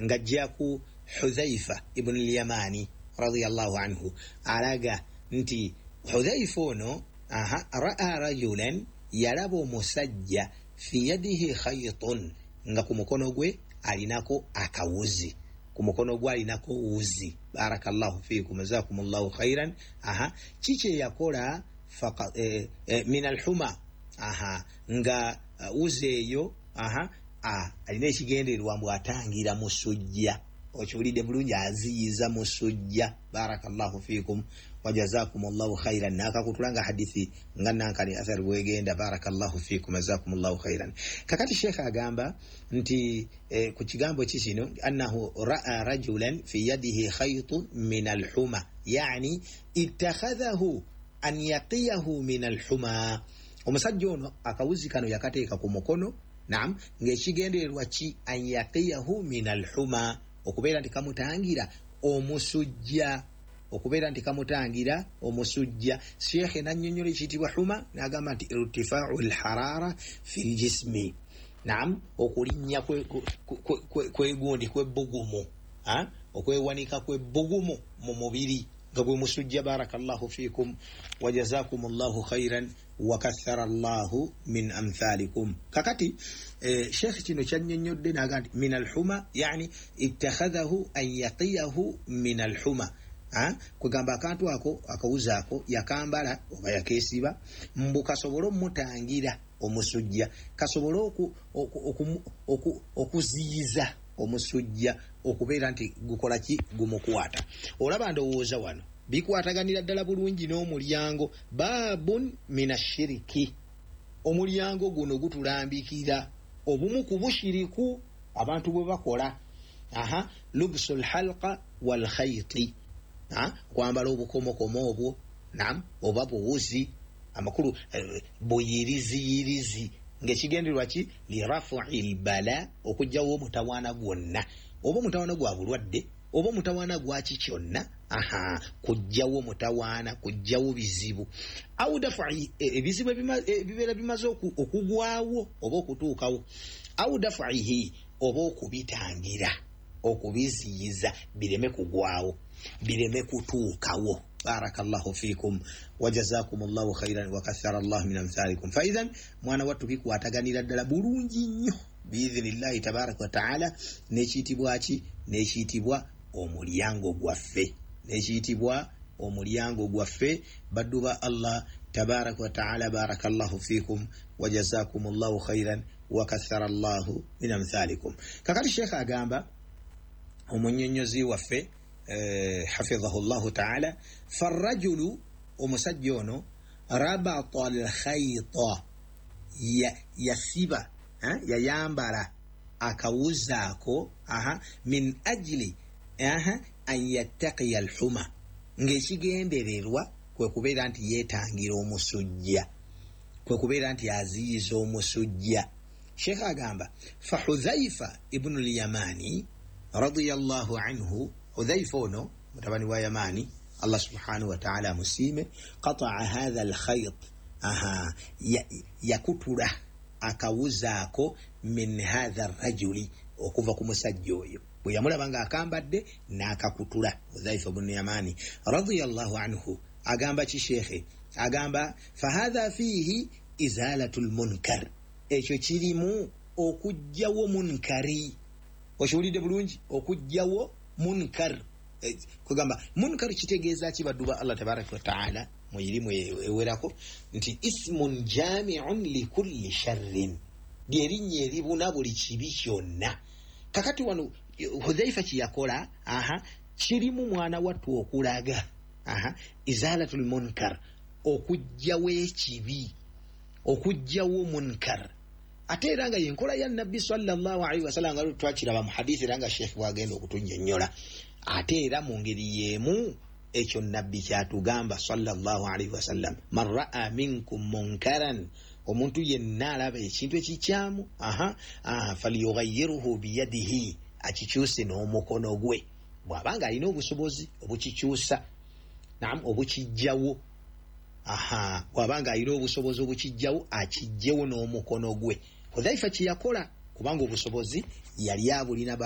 Ng'ajja ku Hudhaifa ibnu Lyamani radiallahu anhu, alaga nti Hudhaifa ono aha raa rajulan, yalaba omusajja, fi yadihi khaytun, nga ku mukono gwe alinako akawuzi, ku mukono gwe alinako wuzi. Barakallahu fikum, jazakum llahu khairan. Aha, kiki eyakola? Min alhuma, aha, nga wuzi eyo, aha, alina ekigendererwa mbu atangira musujja. Okiwulidde bulungi? Aziyiza musujja. Barakallahu fikum wajazakum llahu khairan. Nakakutula nga hadithi nga nankani athari bwegenda. Barakallahu fikum, jazakum llahu khairan. Kakati sheekh agamba nti ku kigambo ki kino, annahu raa rajulan fi yadihi khaytun min alhuma, yani ittakhadhahu an yaqiyahu min alhuma. Omusajja ono akawuzi kano yakateeka ku mukono, nam, ng'ekigendererwa ki? An yaqiyahu min alhuma, okubeera nti kamutangira omusujja, okubeera nti kamutangira omusujja. Sheekhe nannyonnyola ekiyitibwa huma, n'agamba nti irtifaau lharara fi ljismi, nam, okulinnya kwegundi kwebbugumu, okwewanika kwebbugumu mu mubiri, nga gwe musujja. Barakallahu fikum wajazakum llahu khairan wakathara llahu min amthalikum. Kakati sheekh kino kyannyonnyodde naga nti min alhuma, yani ittakhadhahu an yaqiyahu min alhuma, kwegamba akantu ako, akawuzi ako, yakambala oba yakeesiba mbu kasobole omutangira omusujja, kasobole okuziyiza omusujja okubeera nti gukola ki? Gumukwata. Olaba, ndowooza wano bikwataganira ddala bulungi n'omulyango babun min ashiriki. Omulyango guno gutulambikira obumu ku bushiriku abantu bwe bakola, aha, lubsu lhalqa walkhaiti, kwambala obukomokomo obwo, nam, oba buwuzi, amakulu buyiriziyirizi, ng'ekigendererwa ki? Lirafui lbala, okugjawo omutawaana gwonna, oba omutawaana gwa bulwadde oba omutawaana gwaki kyonna. Aha, kugjawo mutawaana, kugjawo bizibu, au dafai ebizibu ebibeera bimaze okugwawo oba okutuukawo, au dafaihi, oba okubitangira, okubiziyiza bireme kugwawo, bireme kutuukawo. Barakallahu fikum wajazakum llahu khairan wakathara llahu min amthalikum. Faithan, mwana wattu, bikwataganira ddala bulungi nnyo biidhinillahi tabaraka wataala nekiyitibwa ki? Nekiyitibwa omulyango gwaffe, nekiyitibwa omulyango gwaffe, baddu ba Allah tabaraka wataala. Barakallahu fikum wajazakum llahu khairan wakathara llahu min amthalikum. Kakati sheekh agamba, omunyonyozi waffe hafidhahu llahu taala, farajulu, omusajja ono, rabata alkhaita, yasiba, yayambala akawuzaako, aha, min ajili, aha, an yattaqiya alhuma, ng'ekigendererwa kwe kubeera nti yeetangira omusujja, kwe kubeera nti aziyiza omusujja. Sheekh agamba, fa Hudhaifa ibnu Lyamani radiyallahu anhu, Hudhaifa ono mutabani wa Yamani, Allah subhanahu wataala amusiime, qataa hatha alkhait, aha, yakutula akawuzaako, min hatha rajuli, okuva ku musajja oyo bwe yamulaba ng'akambadde n'akakutula. Hudhaifa bunu Yamani radiyallahu anhu agamba ki? Sheekhe agamba, fahatha fiihi izalatu lmunkar, ekyo kirimu okugjawo munkari. Okiwulidde bulungi? Okugjawo munkar. Kugamba munkar kitegeeza ki, baddu ba Allah tabaraka wataala? Mu irimu ewerako nti ismun jamiun likulli sharrin, lyerinnya eribuna buli kibi kyonna. Kakati wano Hudhaifa kyeyakola, aha, kirimu mwana wattu okulaga, aha, izalatu lmunkar, okugjawo ekibi, okugjawo munkar. Ate era nga yenkola ya Nabbi sallallahu alaihi wasallam, nga twakiraba mu hadithi, era nga sheekh bwagenda okutunyonnyola. Ate era mu ngeri y'emu ekyo Nabbi kyatugamba sallallahu alaihi wasallam, man raa minkum munkaran, omuntu yenna alaba ekintu ekikyamu, aha, falyughayiruhu biyadihi, akikyuse n'omukono gwe, bw'abanga alina obusobozi obukikyusa, nam, obukijjawo. Aha, bw'abanga alina obusobozi obukijjawo, akijjewo n'omukono gwe. Hudhaifa kyeyakola, kubanga obusobozi yali abulina.